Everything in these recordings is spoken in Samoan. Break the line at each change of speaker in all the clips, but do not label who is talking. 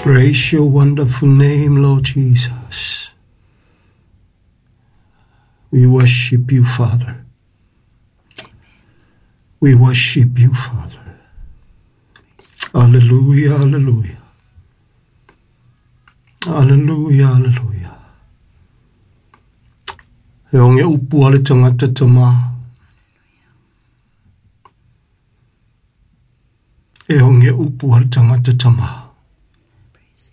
Praise your wonderful name, Lord Jesus. We worship you, Father. We worship you, Father. Hallelujah, hallelujah. Hallelujah, hallelujah. E onge upu ale tangata tama. E onge upu ale tangata tama.
Praise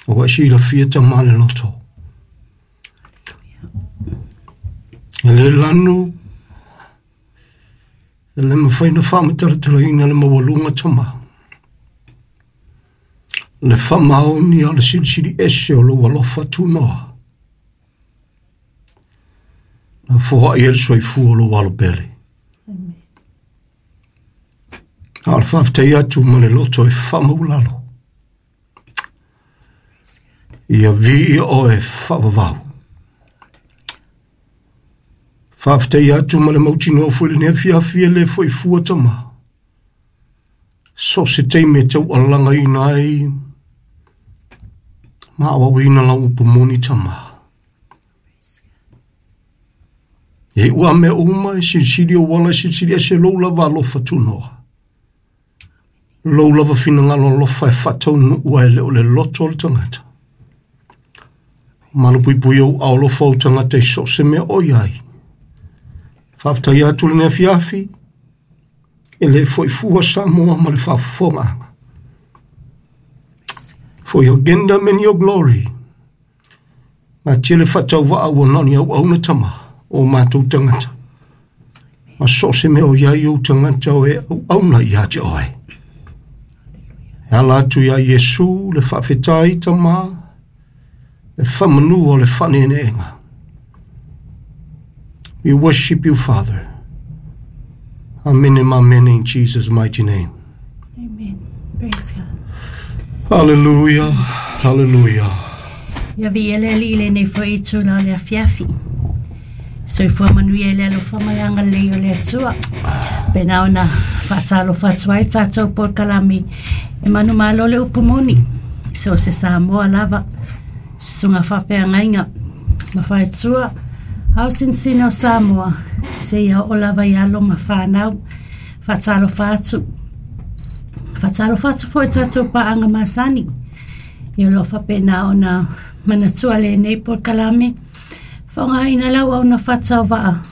O wa si la fia tama le loto. E le lanu, e le mawhai na whaamatalatalaina le mawalunga tama. Le whamaoni a le silisili ese o lo alofa tunoa. Na foha i el soifua o lo alo pele.
Amen.
A o le faafetai atu ma le loto e faamaulalo.
Praise God.
Ia viia oe faavavau. Faafetai atu ma le mautinoa foi lenei afiafi e le foi fua tama. So se taimi e taualagaina ai ma auauina lau upu moni tama.
Praise God.
E ua mea uma e silisili o wala e silisili ese lou lava alofa tunoa. Lou lava finagalo alofa e faataunuu ai le o le loto o le tagata. Malupuipui ou ao alofa o tagata i so o se mea o iai. Faafetai atu lenei afiafi, e le foi fua Samoa ma le faafofogaaga.
Praise God.
For your kingdom and your glory. Ma tele faatauvaa ua na o ni auauna tama o matou tagata. Ma so o se mea o iai ou tagata o e auauna ia te oe. E ala atu ia Iesu le faafetai tama, le faamanu o le faaneeneega. We worship you, Father. Amen and amen in Jesus' mighty name.
Amen. Praise God.
Hallelujah, hallelujah.
Ia viia le Alii i lenei foi itula o le afiafi. Soifua manuia i le alofa ma le agalelei o le Atua. Pena ona faatalofa atu ai tatou polokalame e manumalo le upu moni. So se Samoa lava, susuga faafeagaiga ma faetua, ao sinsina o Samoa, seia oo lava i alo ma whanau, faatalofa atu. Faatalofa atu foi tatou paaga masani. Ia o lo o faapena ona manatua lenei polokalame. Faaaogaina le auauna faatauvaa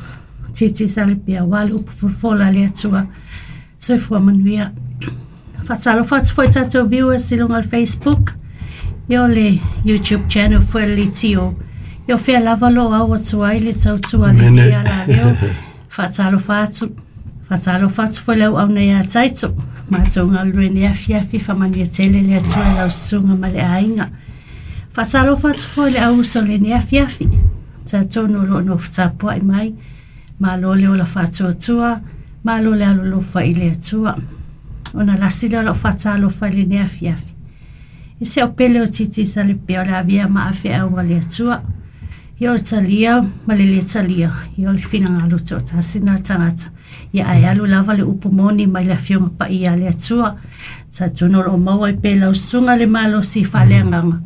TT Salepia aua le upu folafola a le Atua. Soifua manuia. Faatalofa atu foi tatou viewers i luga o le Facebook, ia o le YouTube channel foi le Litio. Ia o fea lava lo au atu ai le tautua a lenei alaleo. Faatalofa atu. Faatalofa atu foi le auauna ia Taito. Matou galulue nei afiafi faamanuia tele le Atua i lau susuga ma le aiga. Faatalofa atu foi le au uso lenei afiafi. Talitonu o lo o nofo tapuai mai. Malo le ola faatuatua, malo le alolofa i le Atua. Ona lasi lea o lau faatalofa i lenei afiafi. I se au pele o TT Salepia o le avea ma afeau a le Atua. Ia o le talia ma le le talia, ia o le finagalo toatasi na le tagata. Ia ae alu lava le upu moni mai le Afioga Paia a le Atua. Talitonu o lo o maua ai pea lau susuga le malosi faaleagaga.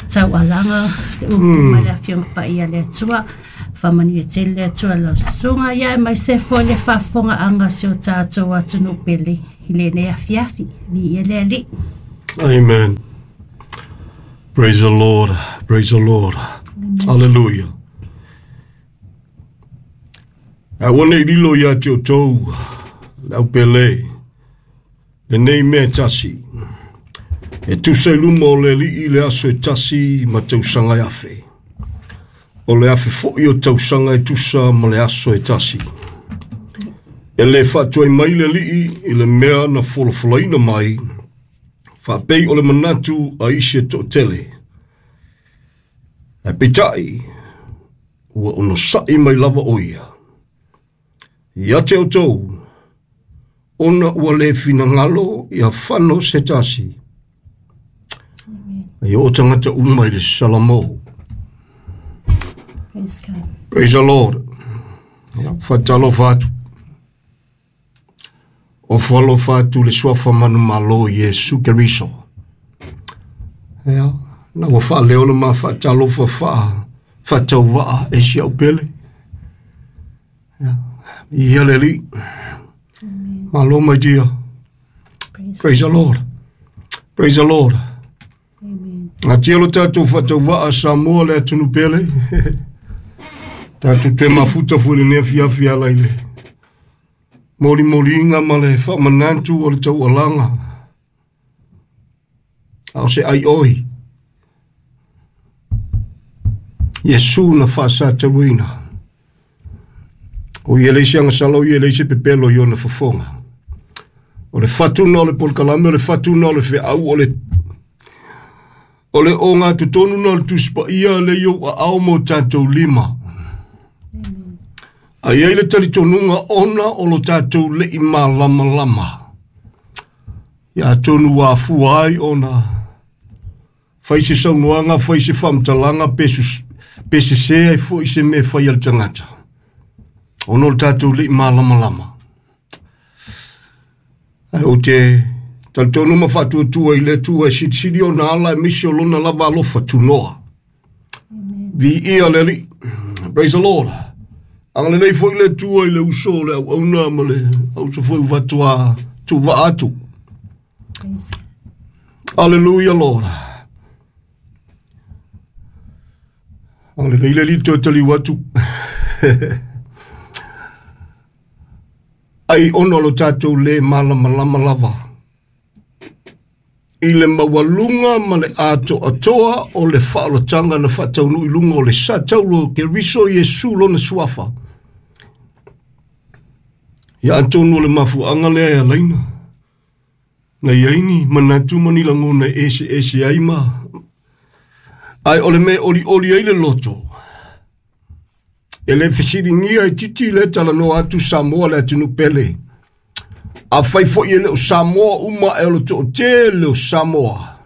Taualaga le upu mai le Afioga Paia a le Atua. Faamanuia tele le Atua i lau susuga. Ia aemaise foi le faafofogaaga a si o tatou atunuu pele i lenei afiafi. Viia le Alii.
Amen. Praise the Lord. Praise the Lord. Hallelujah. Aua nei lilo ia te outou, le au pele, lenei mea e tasi. E tusa i luma o le Alii le aso e tasi ma tausaga e afe. O le afe foi o tausaga e tusa ma le aso e tasi. E le faatuai mai le Alii i le mea na folafolaina mai, faapei o le manatu a isi e toatele. Ae peitai, ua onosai mai lava o ia. Ia te outou, ona ua le finagalo ia fano se tasi. Ia o tagata uma i le Salamo.
Praise God.
Praise the Lord. Ia, faatalofa atu. Ofo alofa atu le suafa manumalo Iesu Keriso. Ia, na ua faaleo le ma faatalofa faatauvaa e si au pele. Ia, ia le Alii. Malo, my dear.
Praise
Praise the Lord. Praise the Lord.
Amen.
Atia lo tātou faatauvaa Samoa le atunu pele. Tātou te mafuta fue le nea fiafi ala i le molimoliga ma le faamanatu o le taualaga. A o se ai oi. Iesu na faasatauina. O ia leisi agasala o ia leisi pepelo i ona fofoga. O le fatuna o le polokalame, o le fatuna o le feau, o le o totonu na o le tusipaia le iou aao mo tātou lima. Ai ai le talitonuga ona o lo tātou lei malamalama. Ia atonu ua afua ai ona fai se saunoaga, fai se faamatalaga, pe sese ai foi se mea fai a le tagata. Ona o le tātou lei malamalama. Ai o te talitonu ma faatuatua i le Atua e silisili ona ala e misi o lona lava alofa tunoa. Vi ia le Alii. Praise the Lord. Agalelei foi le Atua i le uso o le auauna ma le auso foi uvatua tuuvaa atu.
Praise God.
Hallelujah, Lord. Agalelei le Alii toe taliu atu. Ai ona o lo tātou le malamalama lava. I le maualuga ma le atoatoa o le faaolataga na faataunuu i luga o le sa taulo o Keriso Iesu lona suafa. Ia atonu o le mafuaaga lea e alaina. Na iai ni manatu ma ni lagona e eseese ai ma. Ai o le mea olioli ai le loto. E le fesiligia e titi le talanoa atu Samoa le atunu pele. A fai foi e le o Samoa uma e o le toatele o Samoa.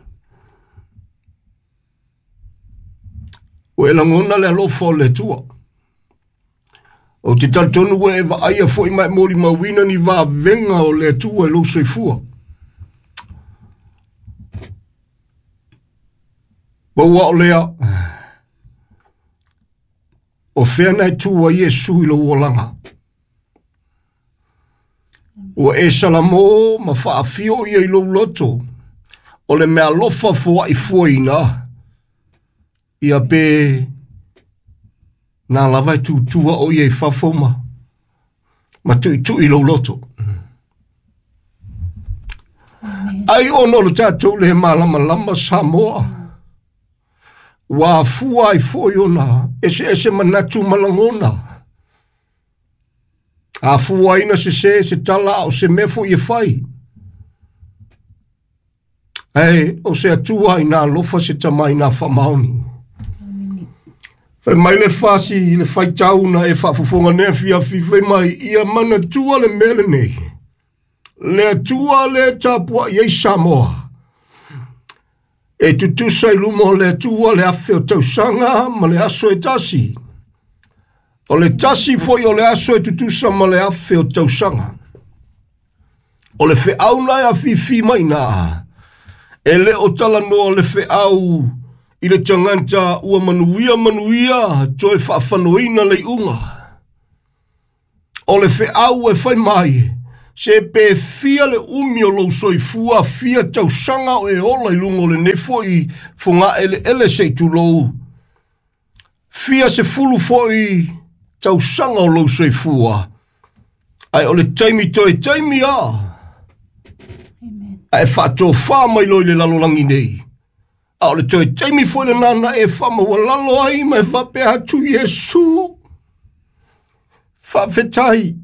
Ua e lagona le alofa o le Atua. O te talitonu ua e vaaia foi ma e molimauina ni vavega o le Atua i lou soifua. Ma ua o lea, o fea na e tu ai Iesu i lou olaga. Ua e salamo ma faafio ia i lou loto. O le mea alofa foai fuaina, ia pe nā lava e tutua o ia i fafo ma tuitui i lou loto. Ai ona o le tātou le malamalama Samoa. Ua afua ai foi ona ese ese manatu ma lagona. Afua ai na sese se tala o se mea foi e fai. Ai o se Atua i nā alofa se tama i nā faamaoni. Fai mai le fasi le faitau na e faafofoga nei afiafi fai mai ia manatua le mea lenei. Le Atua le tapuai ai Samoa. E tutusa i luma o le Atua le afe o tausaga ma le aso e tasi. O le tasi foi o le aso e tutusa ma le afe o tausaga. O le feau na e afifi mai na. E le o talanoa le feau i le tagata ua manuia manuia toe faafanoina le iuga. O le feau e fai mai, se pe fia le umi o lou soifua, fia tausaga o e ola i luga o lenei foi fogaeleele se i tulou. Fia se fulu foi tausaga o lou soifua. Ai o le taimi toe taimi a.
Amen.
Ae faatofā mai loa i le lalolagi nei. A o le toe taimi foi lena na e faamaualalo ai ma e faapea atu Iesu. Faafetai.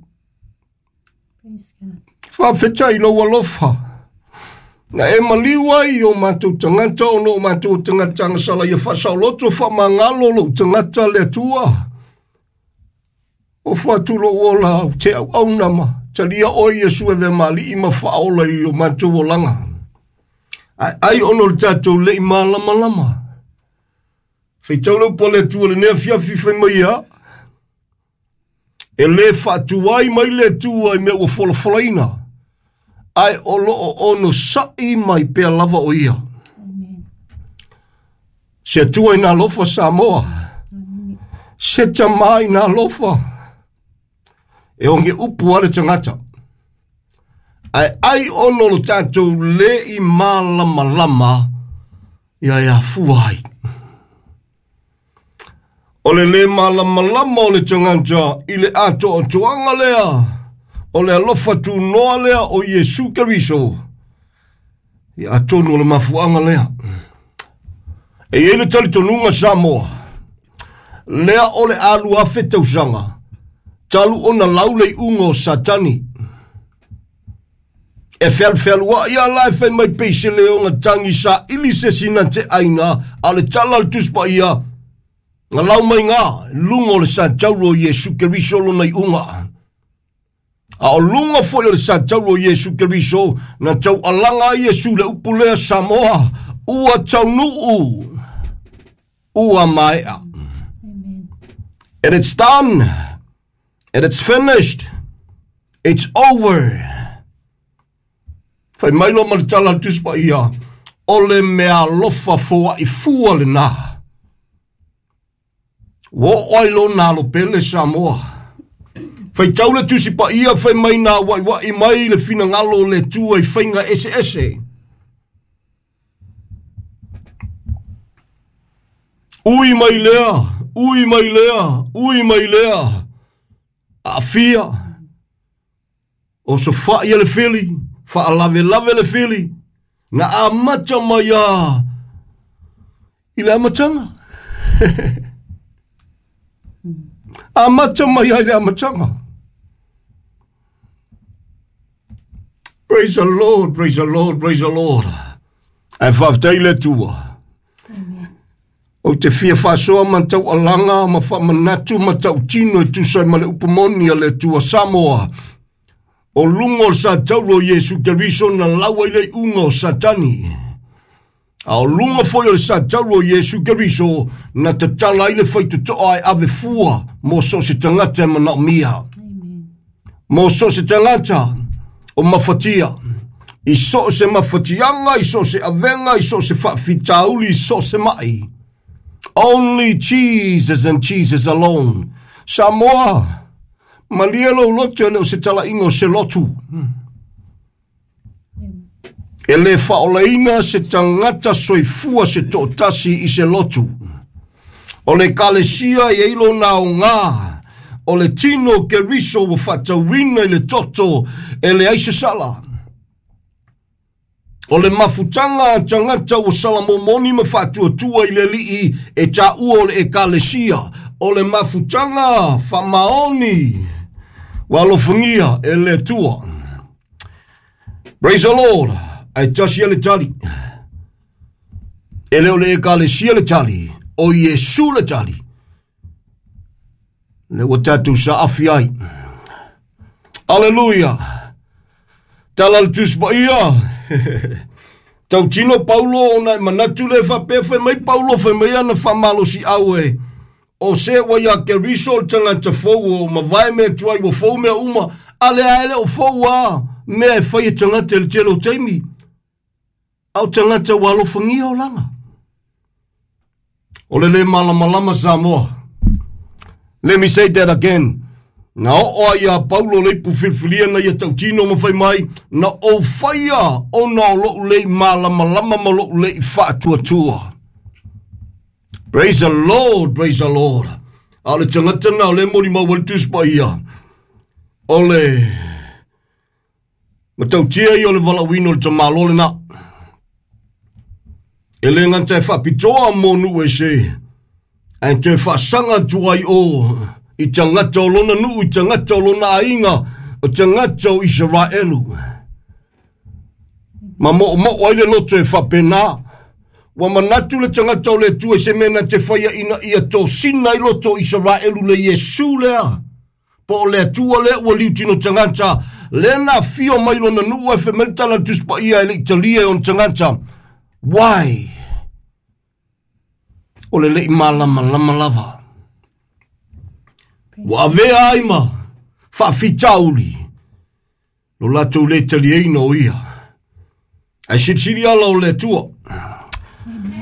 Praise God.
Faafetai i lou alofa. Na e maliu ai o matou tagata ona o matou tagata agasala ia faasaoloto faamagalo lou tagata le Atua. O fatu lou ola au te auauna ma talia oe Iesu e vea mali'i ma faaola i o matou olaga. Ai ai ona o le tātou lei malamalama. Faitau le upu a le Atua lenei afiafi fai mai ia. E le faatuai mai le Atua i mea ua folafolaina. Ae o loo onosa'i mai pea lava o ia. Se Atua ina alofa Samoa. Se tamā ina alofa. E oge upu a le tagata. Ae ai ona lo tatou le i malamalama ia e afua ai. O le le malamalama o le tagata i le atoatoaga lea o le alofa tunoa lea o Iesu Keriso. Ia atonu o le mafuaaga lea. E i ai le talitonuga Samoa, lea o le alu afe tausaga, talu ona lau le iuga o Satani. E fealufealuai ala e fai mai pei se leo tagi saili se sina te aina, a le tala o le Tusi Paia, na lau mai ngā, luga o le satauro o Iesu Keriso lona iuga. A o luga foi o le satauro o Iesu Keriso, na taualaga ai Iesu le upu lea Samoa, ua taunuu, ua maea.
Amen.
And it's done. And it's finished. It's over. Fai mai loa ma le tala a le Tusi Paia, o le mea alofa foai fua lena. Ua oo ai lona alo pele Samoa. Faitau le Tusi Paia fai mai na waiwai mai le finagalo o le Atua i faiga eseese. Ui mai lea, ui mai lea, ui mai lea. Aafia, osofai le fili, faalavelave le fili, na amata mai a i le amataga. Amata mai ai le amataga. Praise the Lord, praise the Lord, praise the Lord. Ae faafetai le Atua. Ou te fia faasoa ma taualaga ma faamanatu ma tautino e tusa ai ma le upu moni a le Atua Samoa. O luga o le satauro o Iesu Keriso na lau ai le iuga o Satani. A o luga foi o le satauro o Iesu Keriso na tatala ai le faitotoa e ave fua mo so o se tagata e manaomia. Mo so o se tagata o mafatia. I so o se mafatiaga, i so o se avega, i so o se faafitauli, i so o se mai. Only Jesus and Jesus alone. Samoa, malie lou loto e le o se talaiga o se lotu. E le faaolaina se tagata soifua se toatasi i se lotu. O le ekalesia e i ai lona aoga, o le tino o Keriso ua faatauina i le toto e leai se sala. O le mafutaga a tagata ua salamomoni ma faatuatua i le Alii e taua o le ekalesia, o le mafutaga faamaoni ua alofagia e le Atua. Praise the Lord. Ae tasi le tali. E le o le ekalesia le tali, o Iesu le tali. Le ua tatou saafi ai. Aleluia. Tala le Tusi Paia. Tautino Paulo ona e manatu le faapea fai mai Paulo fai mai ana faamalosiau e o se ua ia Keriso le tagata fou o mavae mea tuai ua fou mea uma, a lea e le o fou a mea e fai e tagata i le tele o taimi. A o tagata ua alofagia olaga. O le le malamalama Samoa. Let me say that again. Na oo ai ia Paulo le ipu filifilia na ia tautino ma fai mai, na ou faia ona o lou le i malamalama ma lou le i faatuatua. Praise the Lord, praise the Lord. A o le tagata na o le molimau ai le Tusi Paia, o le matautia ia o le valaauina o le tamaloa lena. E le gata e faapitoa mo nuu ese, ae toe faasaga atu ai o i tagata o lona nuu, i tagata o lona aiga, o tagata o Isaraelu. Ma moomoo ai le loto e faapena. Ua manatu le tagata o le Atua i se mea na te faia ina ia tosina ai loto o Isaraelu le Iesu lea. Po o le Atua lea ua liutino tagata, lea na afio mai lona nuu ae fai mai le tala a le Tusi Paia e le i talia e ona tagata. Why? O le le i malamalama lava. Ua avea ai ma faafitauli. Lo latou le taliaina o ia. Ae silisili ala o le Atua.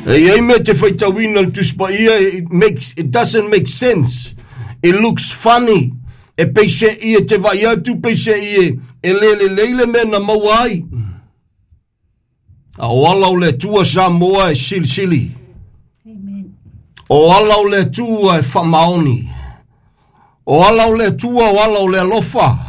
E i ai mea te faitauina le Tusi Paia, it, makes, it doesn't make sense. It looks funny. E peise'i e te vai atu, peise'i e, e le lelei le mea na maua ai. A o ala o le Atua Samoa e silisili.
Amen.
O ala o le Atua e faamaoni. O ala o le Atua, o ala o le alofa.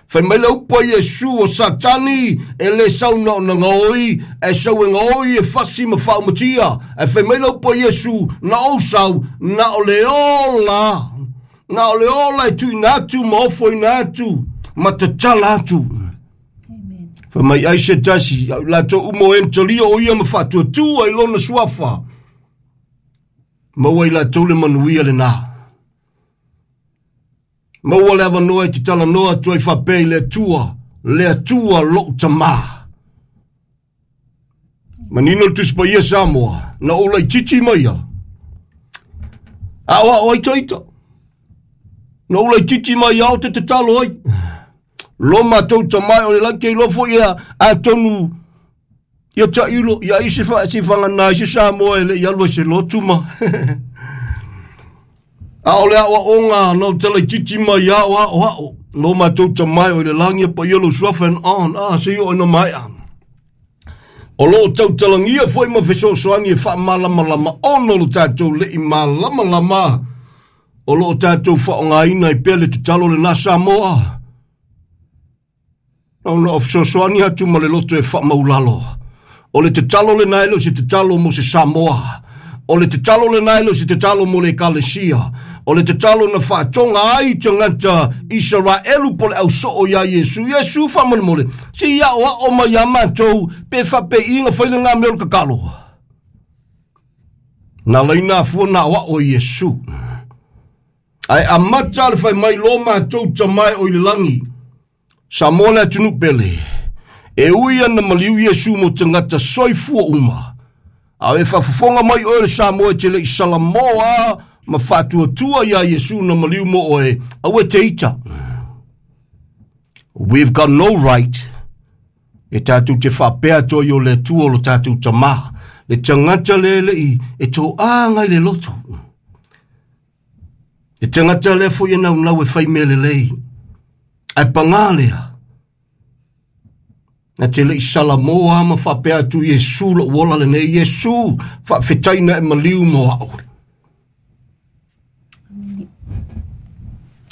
Fai mai le upu a Iesu o Satani e le sau na ona gaoi, ae sau e gaoi e fasi ma faaumatia. Ae fai mai le upu a Iesu, na ou sau, na o le ola. Na o le ola e tuuina atu ma ofoina atu ma tatala atu.
Amen.
Fai mai ai se tasi, au latou uma o e na talia o ia ma faatuatua i lona suafa. Maua i latou le manuia lenā. Maua le avanoa e te talanoa atu ai faapea i le Atua, le Atua lou Tamā. Manino le Tusi Paia Samoa, na ou laitiiti mai ia. A o ao ai taita. Na ou laitiiti mai ia o te tatalo ai. Lo matou tamai o le lagi ke iloa foi ia atonu ia tailo ia ai se fa se fagana se Samoa e le i alu ai se lotu ma. A o le aoaoga na o talaititi mai ao ao ao. Lo matou tamai o i le lagi e paia lou suafa and on. Ah, se i oo ina maea. O lo o tautalagia foi ma fesoasoani e faamalamalama ona o lo tatou le i malamalama o lo o tatou faaaogaina ai pea le tatalo lenā Samoa. Na ona o fesoasoani atu ma le loto e faamaulalo. O le tatalo lenā e le o se tatalo mo se Samoa. O le tatalo lenā e le o se tatalo mo le Ekalesia. O le tatalo na faatoga ai tagata Isaraelu po o le ausoo iā Iesu. Iesu faamolemole, se i aoao mai iā matou pe faapeiga fai lenā mea o le tatalo. Na laina afua na aoao e Iesu. Ae amata le fai mai lo matou tamae o i le lagi. Samoa le atunuu pele. E ui ana maliu Iesu mo tagata soifua uma. A e faafofoga mai oe le Samoa e te le i salamoa ma faatuatua iā Iesu na maliu mo oe, aua e te ita. We've got no right e tatou te faapea atu ai o le Atua o lo tatou Tamā, le tagata le le i e toaga i le loto. Le tagata lea foi e naunau e fai mea lelei. Ae pagā lea, na te le i salamoa ma faapea atu Iesu lou ola lenei, Iesu faafetai na e maliu mo au.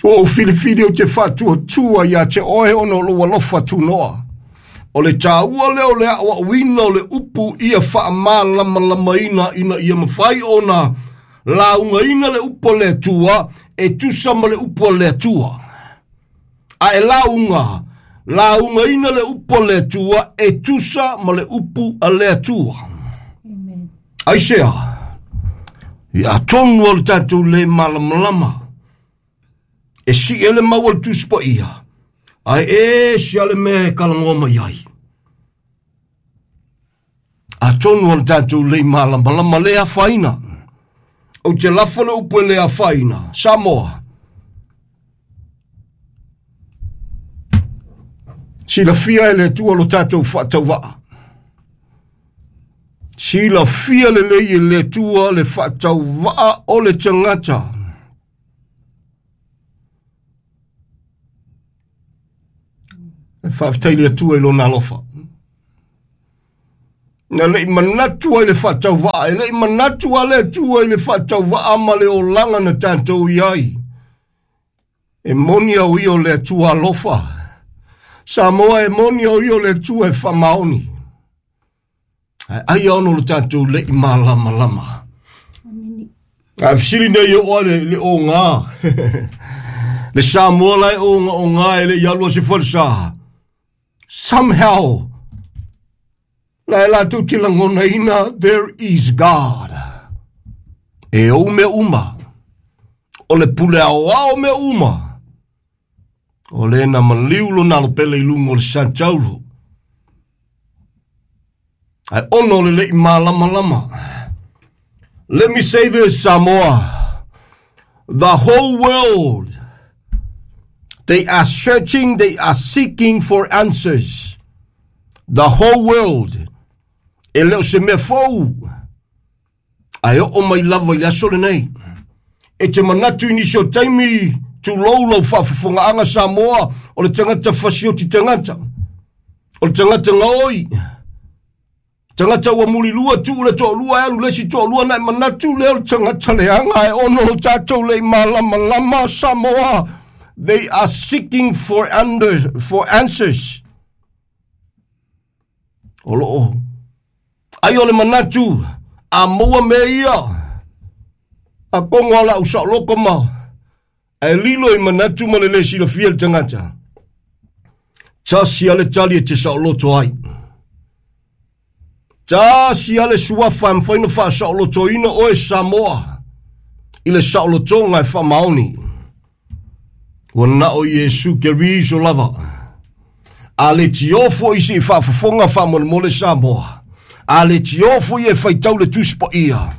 Ua ou filifili ou te faatuatua ia te oe ona o lou alofa tunoa. O le taua lea o le aoaoina o le upu ia faamalamalamaina ina ia mafai ona laugaina le upu a le Atua e tusa ma le upu a le Atua. A e lauga, laugaina le upu a le Atua e tusa ma le upu a le Atua.
Amen.
Aisea, ia tonu o le tatou le malamalama. E sii ai le mau a le Tusi Paia, ae ese lava le mea e kalagoa mai ai. Atonu o le tatou le malamalama le afaina. Ou te lafo le upu e le afaina. Samoa. Silafia e le Atua lo tatou faatauvaa. Silafia lelei e le Atua le faatauvaa o le tagata. E faafetai le Atua i lona alofa. Na le i manatu ai le faatauvaa, e le i manatu a le Atua i le faatauvaa ma le olaga na tatou i ai. E moni au ia o le Atua alofa. Samoa e moni au ia o le Atua e faamaoni. Ae ai ono lo tatou le i malamalama. Ae fesili nei o oa le, le oga. Le Samoa la e oga oga e le i alu a se falesa. Somehow, la e latou te lagonaina, there is God. E ou mea uma. O le pule aoao mea uma. O le na maliu lona alo pele i luga o le Santauro. Ae ona o le le i malamalama. Let me say this, Samoa. The whole world They are searching, they are seeking for answers. The whole world. E le o se mea fou. Ae oo mai lava i le aso lenei. E te manatu i nisi o taimi tulou lau faafofogaaga Samoa o le tagata fasioti tagata. O le tagata gaoi. Tagata ua mulilua tuu le toalua e alu le isi toalua ona e manatu lea o le tagata leaga ae ono lo tatou le i malamalama Samoa. They are seeking for, under, for answers. O loo ai o le manatu a maua mea ia a kongo ala au saoloko ma ae lilo i manatu ma le le silafia le tagata. Tasi a le tali e te saoloto ai. Tasi a le suafa e mafai ona faasaolotoina oe Samoa i le saolotoga e faamaoni. Ua na o Iesu Keriso lava. A le tiofo i se faafofoga faamolemole Samoa. A le tiofo i e faitau le Tusi Paia.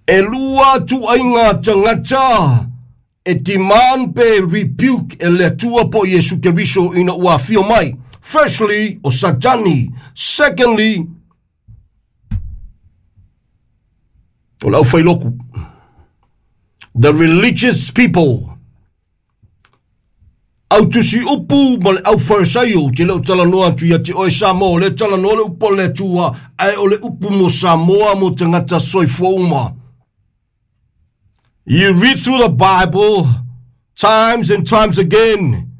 E lua ituaiga tagata e demand pe rebuke e le Atua po o Iesu Keriso ina ua afio mai. Firstly, o Satani. Secondly, o le aufailoku. The religious people. Au tusi upu ma le au Farisaio, ou te le o talanoa atu ia te oe Samoa, o lea talanoa le upu a le Atua, ae o le upu mo Samoa mo tagata soifua uma. You read through the Bible times and times again.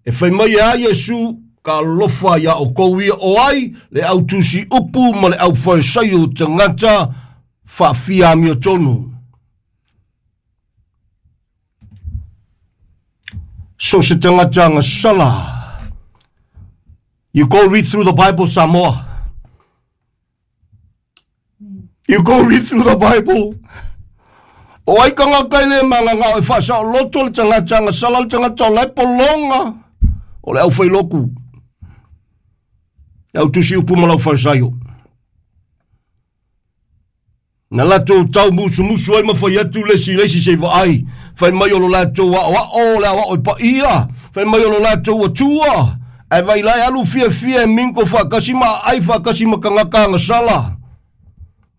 E fai mai e a Iesu, ka alofa ia oukou ia o ai le au tusi upu ma le au Farisaio tagata faafia amiotonu. So se tagata gasala. You go read through the Bible, Samoa. You go read through the Bible. O ai kangaka i le manganga o e faasaoloto le tagata gasala le tagata o la e pologa o le aufailoku. Le au tusi upu ma lau Farisaio. Na latou tau musumusu ai ma fai atu le isi i le isi se i vaai, fai mai o lo latou aoao, le aoao i paia, fai mai o lo latou atua, ae vai la e alu fiafia e minko faatasi ma aai faatasi ma tagata agasala.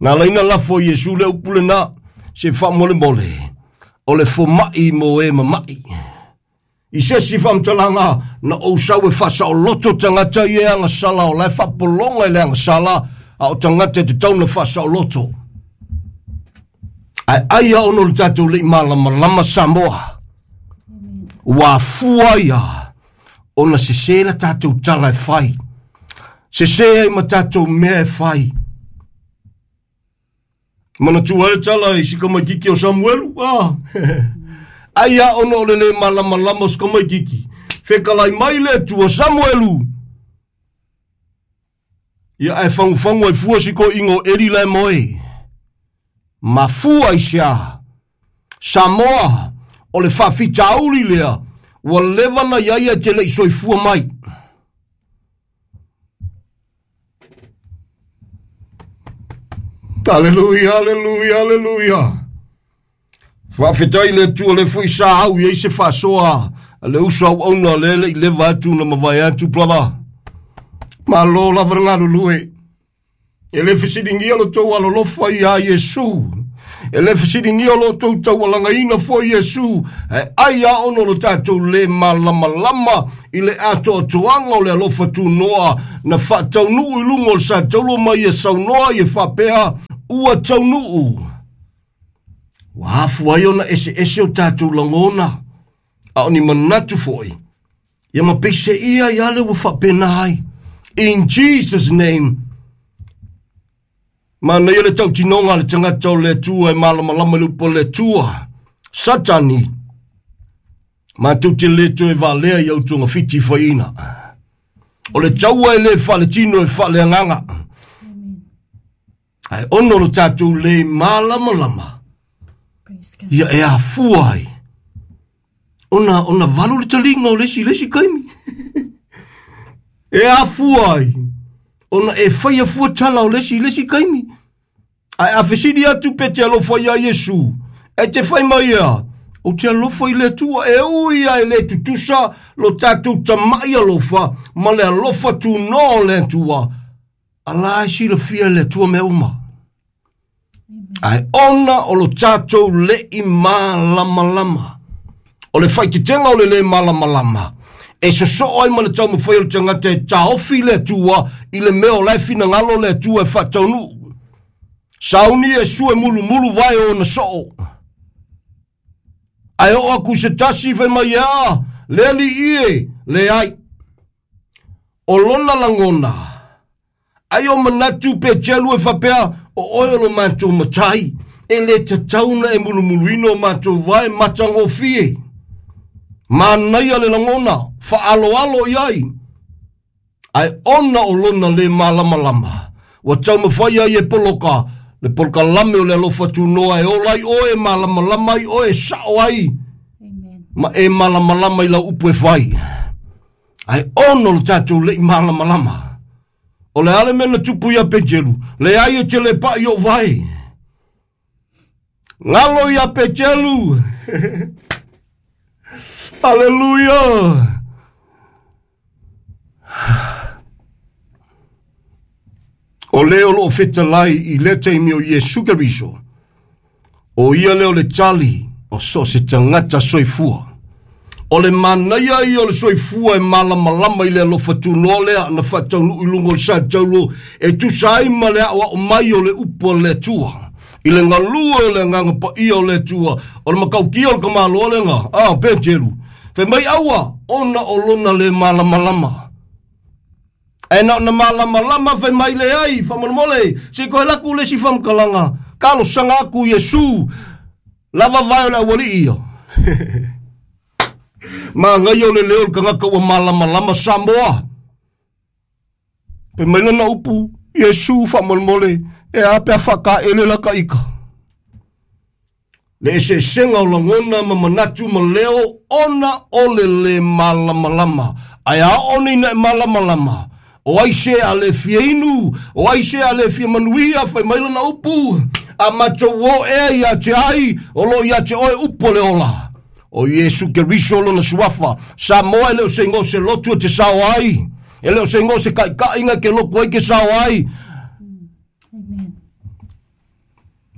Na ala ai na lafo e Iesu le upu lena, se faamolemole, o le fomai mo e mama'i. I se isi faamatalaga, na ou sau e faasaoloto tagata ia e agasala, o la e faapologa i le agasala, a o tagata e tatau ona faasaoloto. Ae ai a ono le tatou le i malamalama Samoa, ua afua ai a ona sese la tatou tala e fai, sese ai ma tatou mea e fai. Manatua ai le tala i si kamaikiki o Samuelu, ah. Ai a ona o le le malamalama o si kamaikiki, fekalai mai le Atua, Samuelu! Ia ae fagufagu ai fua si toeaina o Eli la e moe. Mafua i se a? Samoa, o le faafitauli lea ua leva na i ai ae te le i soifua mai. Aleluia, aleluia, aleluia. Faafetai le Atua le foi sa au i ai se faasoa a le uso auauna le le i leva atu na mavae atu, brother. Malo lava le galulue. E le fesiligia lo tou alolofa iā Iesu. E le fesiligia lo tou taualagaina foi Iesu. Ae ai a ono lo tatou le malamalama i le atoatoaga o le alofa tunoa na faataunuu i luga o le satauro ma ia saunoa ia faapea, Ua taunuu. Ua afu ai ona eseese o tatou lagona, a o ni manatu foi, ia ma peiseia ia le ua faapena ai. In Jesus name, manaia le tautinoga a le tagata o le Atua e malamalama i le upu a le Atua. Satani, matou te le toe valea i au togafiti faiina. O le taua e le faaletino e faaleagaga. Ae ono lo tatou le malamalama, ia e afua ai ona valu le taliga o le isi i le isi taimi. E afua ai ona e faia fua tala o le isi i le isi taimi. Ae a fesili atu pe te alofa iā Iesu, e te fai mai ea, Ou te alofa i le Atua, e ui lava e le tutusa lo tatou tama'i alofa ma le alofa tunoa o le Atua, a la e silafia e le Atua mea uma. Ae ona o lo tatou le'i malamalama, o le faaeteetega o le lē malamalama, e sosoo ai ma le taumafai o le tagata e taofi le Atua i le mea o la e finagalo le Atua e faataunuu. Sauni Iesu e mulumulu vae o ona soo. Ae oo atu i se tasi fai mai e a, le alii e, leai. O lona lagona, ai o manatu Peteru e faapea, o oe o lo matou matai, e le tatau ona e mulumuluina o matou vae matagofie. Manaia le lagona, faaaloalo i ai. Ae ona o lona lē malamalama, ua taumafai ai e poloka le polokalame o le alofa tunoa e ola ai oe, e malamalama ai oe, e sao ai, ma e malamalama i lau upu e fai. Ae ona o le tatou le'i malamalama, o le a le mea na tupu ia Peteru? Leai e te le pa'i ou vae. Galo ia Peteru. Aleluia. O le o loo fetalai i lea taimi o Iesu Keriso, o ia lea o le tali o so o se tagata soifua. O le manaia ia o le soifua e malamalama i le alofa tunoa lea na faataunuu i luga o le sa taulo e tusa ai ma le aoao mai o le upu a le Atua. I le galue o le agaga paia o le Atua, o le matautia o le tamaloa lena, a Peteru, fai mai aua, ona o lona le malamalama. Ae na ona malamalama fai mai leai, faamolemole, se i toe alu atu le isi faamatalaga, talosaga atu Iesu, lava vae o le aualii ia. Manaia o le leo o le tagata ua malamalama Samoa. Fai mai lana upu, Iesu faamolemole, e a pe a faataele la ta ita. Le eseesega o lagona ma manatu ma leo ona o le lē malamalama. Ae a oo nei ina e malamalama, o ai se a le fia inu, o ai se a le fia manuia, fai mai lana upu, a matou o ea ia te ai, o lo o ia te oe upu o le ola. O Iesu Keriso lona suafa. Samoa e le o se igoa o se lotu e te sao ai. E le o se igoa o se taitaiga e te lotu ai ke sao ai.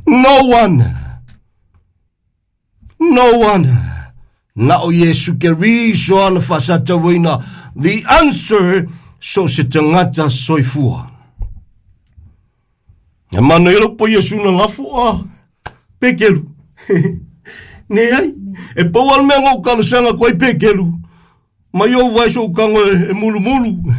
No one. No one. Na o Iesu Keriso ana faasatauaina. The answer, so se tagata soifua. E mana ia lau pa Iesu na lafo a Pekeru. Ne ai. E pau lava le mea na ou talosaga atu ai Pekeru. Mai ou vae sou tago e mulumulu.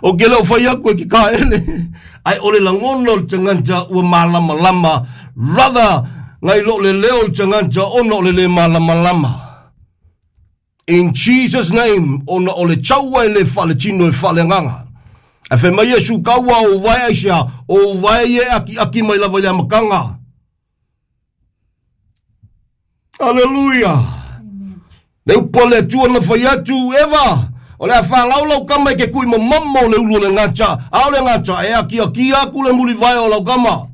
O ke le o fai atu e ke kaele. Ae o le lagona o le tagata ua malamalama rather nai lo le leo o le tagata ona o le le malamalama. In Jesus name, ona o le taua e le faaletino e faaleagaga. Ae fai mai Iesu, Kaua o ou vae aisea, o ou vae ia e akiaki mai lava i le amataga. Aleluia! Le upu a le Atua na fai atu, Eva, o le a fanau lau tama i ke kui momomo o le ulu o le gata, a o le gata e akiakia aku le mulivae o lau tama.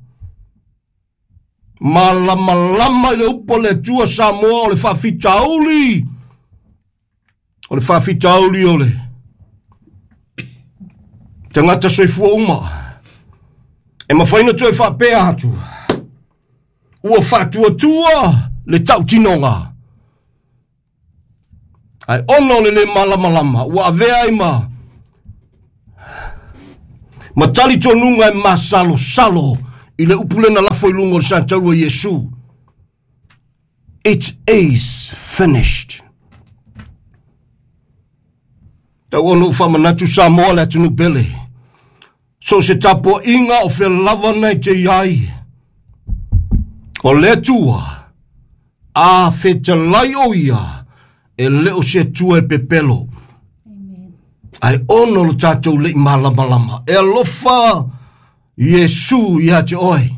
Malamalama i le upu a le Atua Samoa o le faafitauli, o le faafitauli o le tagata soifua uma. E mafai ona toe faapea atu, ua faatuatua le tautinoga. Ae ona o le lē malamalama, ua avea ai ma ma talitonuga e masalosalo i le upu lea na lafo i luga o le sataua Iesu. It is finished. Tau ona ou faamanatu Samoa le atunuu pele. So o se tapuaiga o fea lava na e te i ai. O le Atua, a fetalai o ia, e le o se Atua e pepelo. Ae ono lo tatou le'i malamalama. E alofa Iesu ia te oe.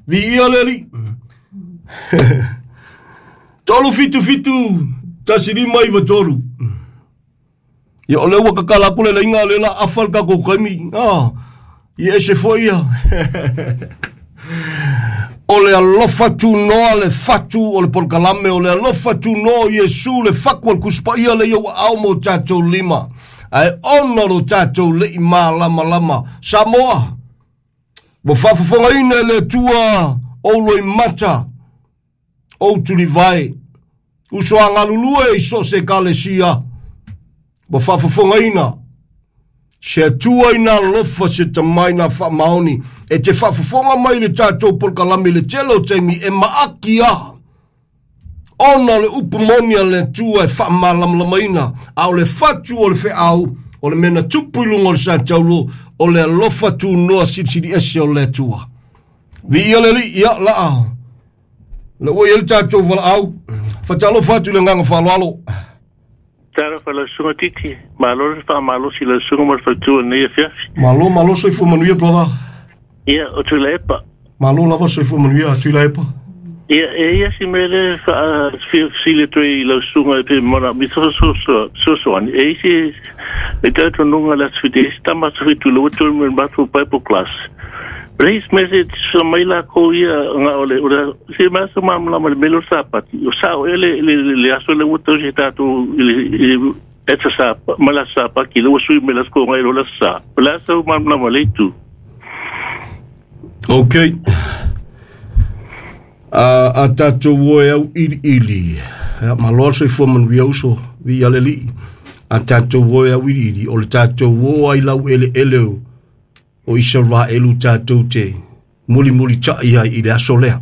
Viia le Alii. 3 7 7 1 5 9 3. Ia o lea ua tatala atu le laina lea la afa le tatou taimi. Ah, ia ese foi ia. O le alofa tunoa le fatu o le polokalame, o le alofa tunoa o Iesu le faku o le kuspaia le iau au mo tātou lima. Ae ona lo tātou lei malamalama. Samoa, ua faafofogaina e le Atua ou loimata, ou tulivae, uso a galulue i so o se ekalesia, ua faafofogaina se Atua ina alofa se tamai na faamaoni e te faafofoga mai le tatou polokalame i le tele o taimi e maaki a ona o le upu moni a le Atua e faamalamalamaina, a o le fatu o le feau o le mea na tupu i luga o le sataulo o le alofa tunoa silisili ese o le Atua. Viia le Alii, ia laa le ua i ai le tatou valaau. Fatalofa atu i le agaga faaaloalo.
Talofa lau susuga Titi, malo le faamalosi lau susuga ma le faletua i lenei afiafi.
Malo, malo soifua manuia, brother.
Ia, o Tuilaepa.
Malo lava soifua manuia, Tuilaepa.
Ia, e i ai si mea lea e faafesili atu ai i lau susuga e pe manaomia se fesoasoani. E i ai se le talitonuga i le Aso Fiti, e i ai se tama Aso Fitu i le ua join mai i le matou Bible class. But his message sa mai lakou ia nga o le o le se mea sa malamalama i le mea lea o le Sapati. O sao ea le le le aso lea ua tausi e tatou i le i le aso Sa ma le aso Sapati lea ua sui mai le aso Toonai i lo le aso Sa. O le a sau malamalama i le itu?
Okay. A, a tatou o e au iliili. Ia, malo le soifua manuia uso, viia le Alii. A tatou o e au iliili, o le tatou o ai lau eleele o, o Isaraelu tatou te mulimulitai ai i le aso lea.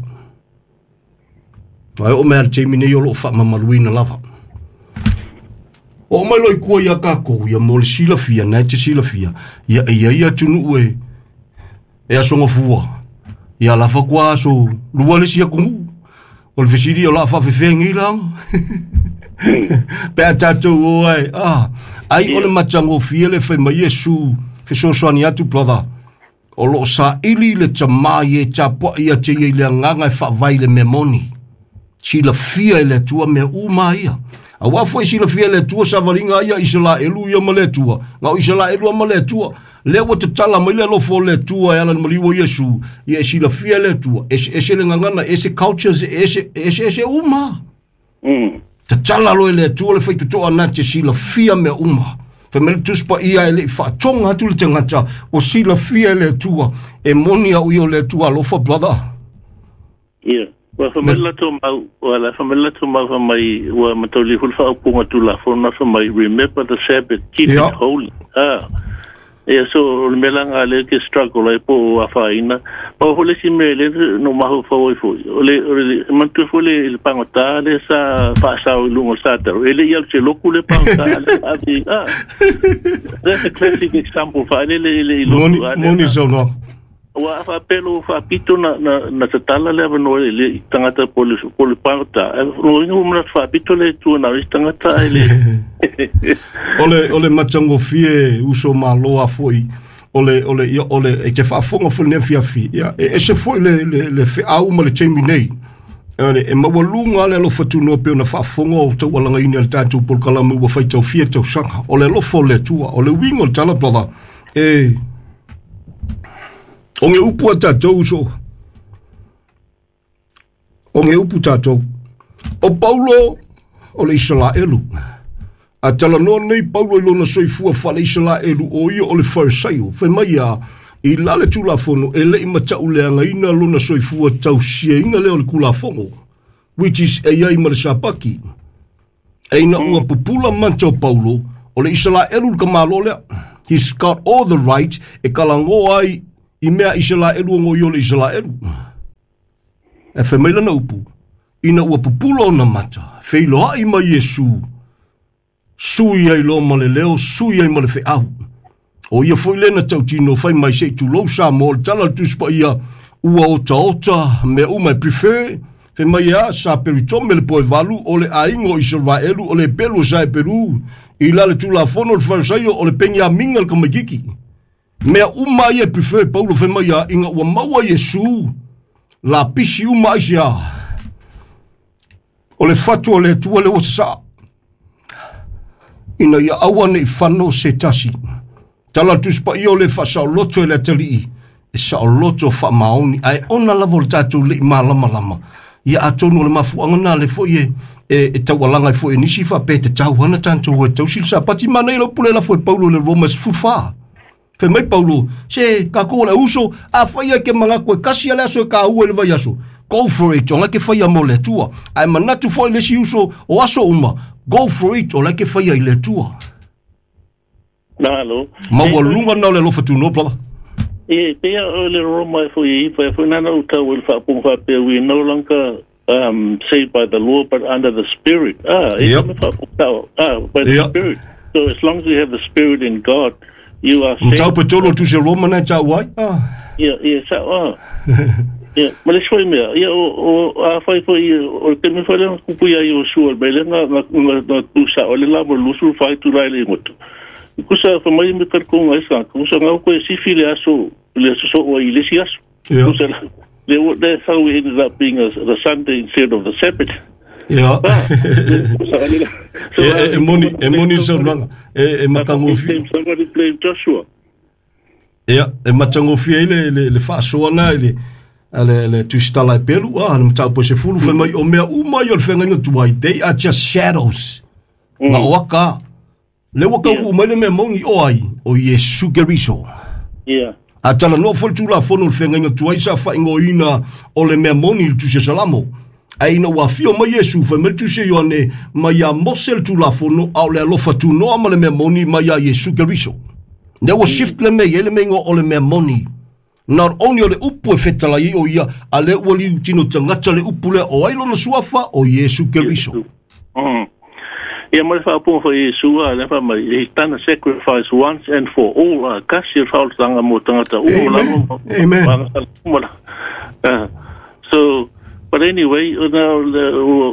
Ae oo mai lava i le taimi nei o lo o faamamaluina lava. Oo mai loa i tua ia tatou, ia mo le silafia, na e te silafia, ia e i ai atunuu e, e aso gafua, ia la faatoa aso lua le isi atunuu. O le fesili o le a faafefea nei laga. Pe a tatou o ai, ah, ai o le matagofie le fai mai Iesu, fesoasoani atu brother. O lo o saili le tamā i e tapuai ia te ia i le agaga e faavae i le mea moni. Silafia e le Atua mea uma ia. Aua foi silafia e le Atua savaliga ia Isaraelu ia ma le Atua. Na o Isaraelu lava ma le Atua. Lea ua tatala mai le alofa o le Atua e ala i le maliu o Iesu, ia e silafia e le Atua, eseese le gagana, ese cultures, ese, eseese uma. Tatala loa e le Atua le faitotoa na te silafia mea uma. Fai mai le Tusi Paia e le i faatoga atu le tagata, ua silafia e le Atua. E moni au ia o le Atua alofa, brother.
Ia, ua fai mai le latou mau, ua la fai mai le latou mau fai mai, ua mataulia foi le faaupuga Tulafono fai mai, remember the Sabbath, keep it holy. Ah. Ia, so o le mea la lena lea ke struggle ai po o afaina. Pau foi le isi mea lea na ou mafaufau ai foi, o le, o le, manatua foi le, le pagota lea sa faasao i luga o le satalo, e le i alu i se lotu le pagota, a lea ave i, ah, that's a classic example, faalele e le i lotu.
Moni, moni le saunoaga.
Ua faapea lou faapito na, na, na tatala le avanoa i le tagata po le, po le pagota. Ae lona uiga ua manatu faapito le Atua na o isi tagata ae le.
O le, o le matagofie uso malo a foi, o le, o le, ia, o le, e te faafofoga foi i lenei afiafi, ia, e ese foi le, le, le feau ma le taimi nei. E, e maualuga le alofa tunoa pei ona faafofoga o taualagaina e le tatou polokalame ua faitau fia tausaga. O le alofa o le Atua, o le uiga o le tala, brother, e, O nge upu a tatou uso. O nge upu tatou. O Paulo o le Isaraelu. A talanoa nei Paulo i lona soifua faale Isaraelu o ia o le Farisaio. Fai mai ia, i la le Tulafono e le i matauleagaina lona soifua tausiaina lea o le Tulafono, which is e i ai ma le Sapati. E ina ua pupula mata o Paulo, o le Isaraelu le tamaloa lea. He's got all the right e kalagoa ai i mea Isaraelu o i o le Isaraelu. E fai mai lana upu, ina ua pupula ona mata, feiloai mai Iesu, sui ai loa ma le leo, sui ai ma le feau. O ia foi lea na tautino fai mai se i tulou Samoa, o le tala a le Tusi Paia, ua otaota mea uma e prefer, fai mai e a, sa peritome le poe valu, o le aiga o Isaraelu, o le pelu o sa e peru, i la le Tulafono o le Farisaio, o le Peniamina le tamaititi. Mea uma ia e prefer Paulo fai mai a, ina ua maua Iesu, lapisi uma ai se a. O le fatu o le Atua lea ua sasaa, ina ia aua ne i fano se tasi. Tala le Tusi Paia o le faasaoloto e le atalii, E saoloto faamaoni, ae ona lava o le tatou le'i malamalama, ia atonu o le mafuaga na le fo'i e taualaga ai fo'i e nisi faapea e tatau ana tatou e tausi le Sapati. Manaia lau pule lafo e Paulo i le Roma 14. Fai mai Paulo, se kākou o le uso, a fai ai ke manatu e kasi ale aso e ka ua i le vai aso. Go for it, o ngai ke whaia mo le Atua. Ae manatu foi le si uso o aso uma, go for it, o lai ke whaia i le Atua.
Nalo.
Maua lunga na o le alofa tuno, brother.
E, pea o le Roma e foi i fa foi nana u tau el fa pung fa pe we no longer saved by the law but under the spirit. Ah, e
Yep.
me fa pung tau. Ah, by the
Yep.
spirit. So as long as you have the spirit in God, you are
Mtau
saved.
petolo tu se Roma na tau ai. Ah.
Ia, sa, ah. Ia, ma le sui mea, ia, o, a fai foi, o te me fai le kupu ia i o sua, me le nga tu sa, o le la mo lusu fai tu lai le ngoto. Kusa fa mai me kar ko ngai sa, kusa ngau ko e sifi le aso, le aso so o i le si aso.
Ia.
Kusa le, that's how we ended up being the Sunday instead of the Sabbath.
Ia.
Ah, kusa le la. So,
E moni le saunoaga. E matagofie.
Somebody blame Joshua.
Ia, e matagofie ai le faasoa na i le le tusitala e pelu, ah, le mataupu e 10, fai mai o mea uma ia o le feagaiga tuai, they are just shadows. Nga o aka, le ua kaunuu mai le mea moni o ai, o Iesu Keriso. A tala noa foi le tulafono o le feagaiga tuai sa faaigoaina o le mea moni i le tusi a Salamo. Ae ina ua afio mai Iesu, fai mai le tusi a Ioane, mai ia Mose le tulafono, a o le alofa tunoa ma le mea moni mai ia Iesu Keriso. Lea ua shift le mea i ai le mea igoa o le mea moni. Not only o le upu e fetalai ai o ia, a lea ua liu tino tagata le upu lea o ai lona suafa o Iesu Keriso.
Ia ma le faapunga foi Iesu a le fa mai he done a sacrifice once and for all a kasi le faolotanga mo tagata uma
Amen.
lava
Amen.
ma so but anyway now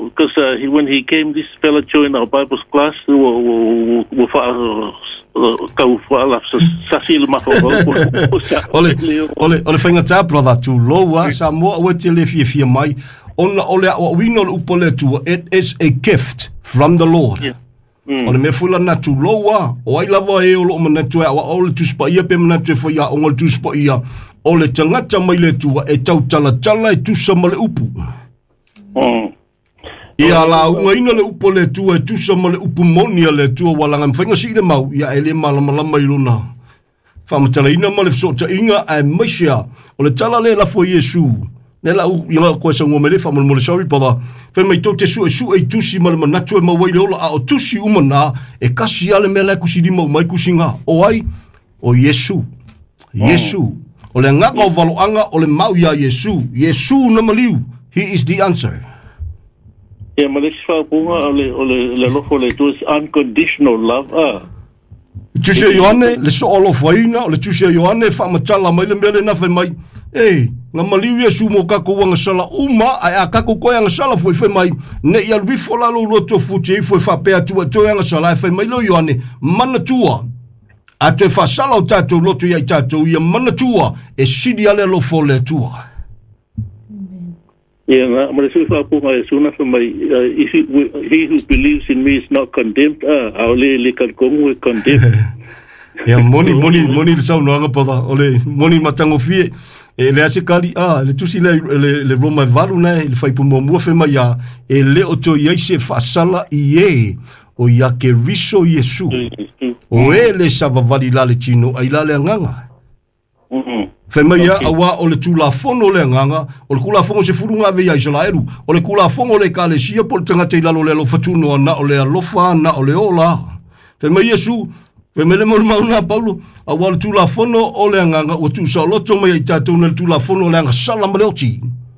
because he, when he came, this fella joined our Bible class ua fa kau fa sasi le mafa.
O le faigata, brother, tulou a Samoa ua te le fiafia mai ona o le aoaoina o le upu o le Atua, it is a gift from the Lord. O le mea foi lana tulou a, o ai lava e o loo manatu e aoao le Tusi Paia pe manatu e faiaoga le Tusi Paia, o le tagata mai le Atua e tautalatala e tusa ma le upu. Ia laugaina le upu o le Atua e tusa ma le upu moni a le Atua ua laga mafaiga sii le mau, ia e le malamalama i lona faamatalaina ma le fesootaiga ae maise a. O le tala le lafo i Iesu, le lau ia koe saugoa mai le faamolemole, sorry brother, fai mai tou te suesue i tusi ma le manatu e maua ai le ola, a o tusi uma na, e kasi a le mea la e kusilima uma ai kusiga. O ai? O Iesu. Iesu. O le agaga o valoaga o le mau iā Iesu. Iesu na maliu. He is the answer.
Ia ma le isi faapunga o le alofa o le Atua is unconditional love ah.
Tusi a Ioane, le soo alofaina, o le tusi a Ioane e faamatala mai le mea lena fai mai, e, na maliu Iesu mo kakou agasala uma, ae a kakou koe agasala foi fai mai, ne i alu ifo la lou loto futi ifo e faapea atu e toe agasala, e fai mai leo Ioane, manatua, a toe faasala o tatou loto ia i tatou, ia manatua, e sili ale alofa o le Atua.
Ia na ma le sui faapunga e suna fa mai if he, he who believes in me is not condemned ah a o le kalkongu e condemned.
Ia moni moni moni le saunoaga brother, o le moni matagofie. E le ase kali, ah, le tusi le Roma e 8 na le faipu muamua fai mai ia, e le o toe i ai se faasala i e, o ia Keriso Iesu. O e le savavali la le tino ai la le agaga. Fai mai ia, auā o le tulafono le agaga, o le kulafono 10 ave ia Isaraelu, o le kulafono le ekalesia po o le tagata i lalo o le alofa tunoa na o le alofa na o le ola. Fai mai Iesu, fai mai le molimau Paulo, auā o le tulafono o le agaga ua tuusaoloto mai ai tatou na le tulafono o le agasala ma le oti.